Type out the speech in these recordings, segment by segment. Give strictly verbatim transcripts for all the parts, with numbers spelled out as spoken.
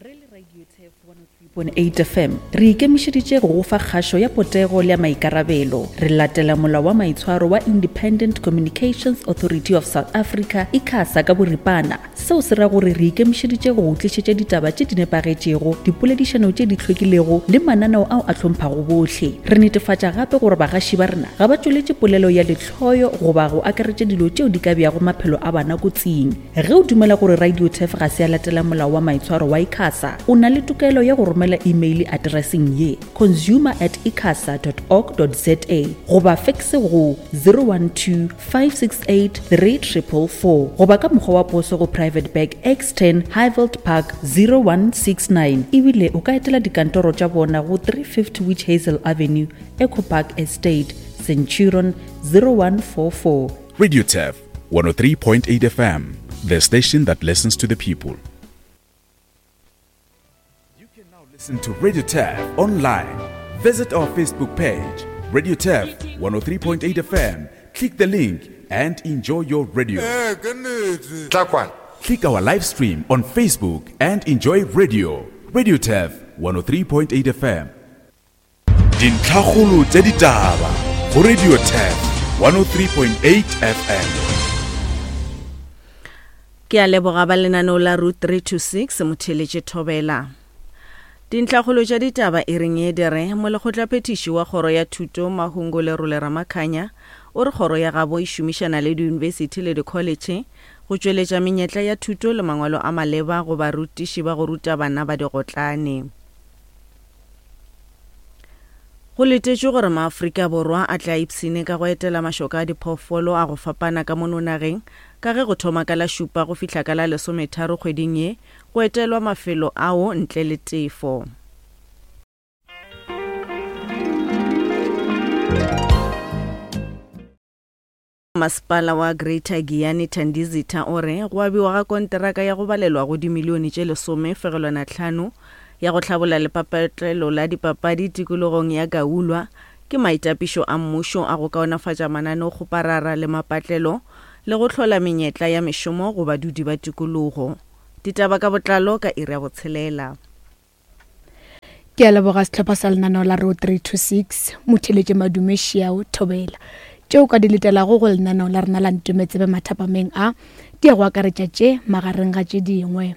Re le Radio Turf one oh three point eight F M re ikemišeditše go go fa kgašo ya potego le ya maikarabelo. Re latela molao wa maitshwaro wa Independent Communications Authority of South Africa, ICASA ka boripana. Seo se ra gore re ikemišeditše go go tlišetša ditaba tše di nepagetšego, dipoledišano tše di hlwekilego le mananeo ao a hlomphago bohle. Re netefatša gape gore bagaši ba rena ga ba tšweletše polelo ya lehloyo goba go akaretša dilo tšeo di ka beago maphelo a bana kotsing. Ge o dumela gore Radio Turf ga se ya latela molao wa maitshwaro wa ICASA, o na le tokelo ya go romela email addresseng ye consumer at icasa dot org dot za goba fax go zero one two five six eight three triple four goba ka mokgwa wa poso go Private Bag X ten Highveld Park zero one six nine. Ebile o ka etela dikantoro tša bona go three fifty Witch Hazel Avenue, Echo Park Estate, Centurion zero one four four. Radio Turf one oh three point eight F M, the station that listens to the people. You can now listen to Radio Turf online. Visit our Facebook page, Radio Turf one oh three point eight F M. Click the link and enjoy your radio. Eh, ke nnete. Tla kwana. Click our live stream on Facebook and enjoy radio. Radio Turf one oh three point eight F M. Dintlhakgolo tša ditaba go Radio Turf one oh three point eight F M. Ke a leboga ba lenaneo la Route three two six motheletše Thobela. Dintlhakgolo tša ditaba e reng e dire molekgotlaphethiši wa kgoro ya thuto Mahungo Lerole Ramakhanya o re kgoro ya gabo e šomišana le diyunibesithi le dikholetšhe go tšweletša menyetla ya thuto le mangwalo a maleba go barutiši ba go ruta bana ba digotlane. Go letetšwe gore maAfrika Borwa a tla ipshine ka go etela mašoka a diphoofolo a go fapana ka mono nageng ka ge go thoma ka la šupa go fihla ka la lesometharo kgweding ye go etelwa mafelo ao ntle le tefo. Masepala wa Greater Giyani Thandizitha o re go abiwa ga konteraka ya go balelwa go dimilione tše lesome fegelwana tlhano ya go hlabolla lepatlelo la dipapadi tikologong ya Gaulwa ke maitapišo a mmušo a go kaonafatša mananeokgoparara le mapatlelo le go hlola menyetla ya mešomo go badudi ba tikologo. Ditaba ka botlalo ka iri ya botshelela. Ke a leboga sehlopha sa lenaneo la Road three two six, motheletše Madume Šiao Thobela. Tšeo ka di letelago go lenaneo la rena la Ntometsebe mathapameng a di ya go akaretša tše magareng ga tše dingwe.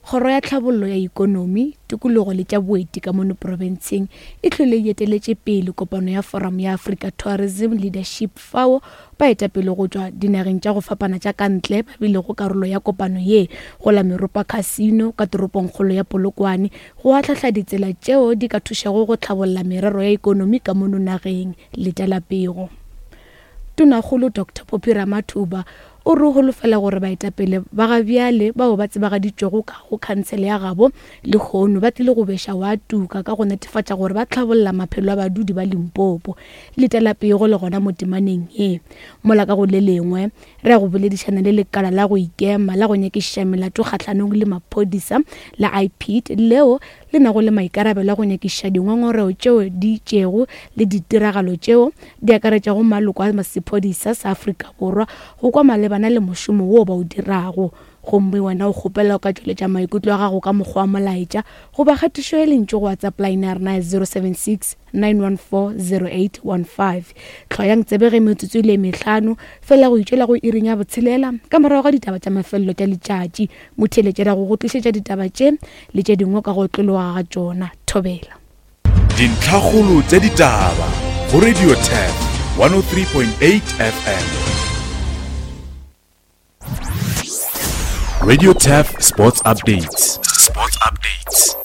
Kgoro ya tlhabollo ya ikonomi, tikologo le tša boeti ka mono profenseng e hlwele e eteletše pele kopano ya Forum ya Africa Tourism Leadership fao baetapele go tšwa dinageng tša go fapana tša ka ntle ba bilego karolo ya kopano ye go la Meropa Casino ka toropongkgolo ya Polokwane go ahlahla ditsela tšeo di ka thušago go tlhabolla merero ya ikonomi ka mono nageng. Letela pego. Tonakgolo Doctor Phophi Ramathuba o re holofela gore baetapele ba ga bjale bao ba tsebagaditšwego ka go khansele ya gabo lehono ba tlile go beša wa tuka ka go netefatša gore ba tlhabolla maphelo a badudi ba Limpopo. Letela pego le gona mo temaneng ye. Mola ka go le lengwe re ya go boledišana le lekala la go ikema la go nyakišiša melato kgahlanong le maphodisa la I P D leo le nago le maikarabelo a go nyakišiša dingongorego tšeo di itšego le ditiragalo tšeo di akaretšago maloko a sephodisa sa Afrika Borwa go kwa malebana le mošomo wo ba o dirago. Gomme wena o kgopela o ka tšweletša maikutlo a gago ka mokgwa wa molaetša goba kgatišo ya lentšu go WhatsApp line ya rena ya zero seven six nine one four zero eight one five. Tlhoyang tsebe ge metsotso e le mehlano fela go itšwela go iring ya botshelela ka morago ga ditaba tša mafelelo tša letšatši. Motheeletšela go go tlišetša ditaba tše le tše dingwe ka go otlologa ga tšona. Thobela. Dintlhakgolo tša ditaba go Radio Turf one oh three point eight F M. Radio Turf Sports Updates. Sports Updates.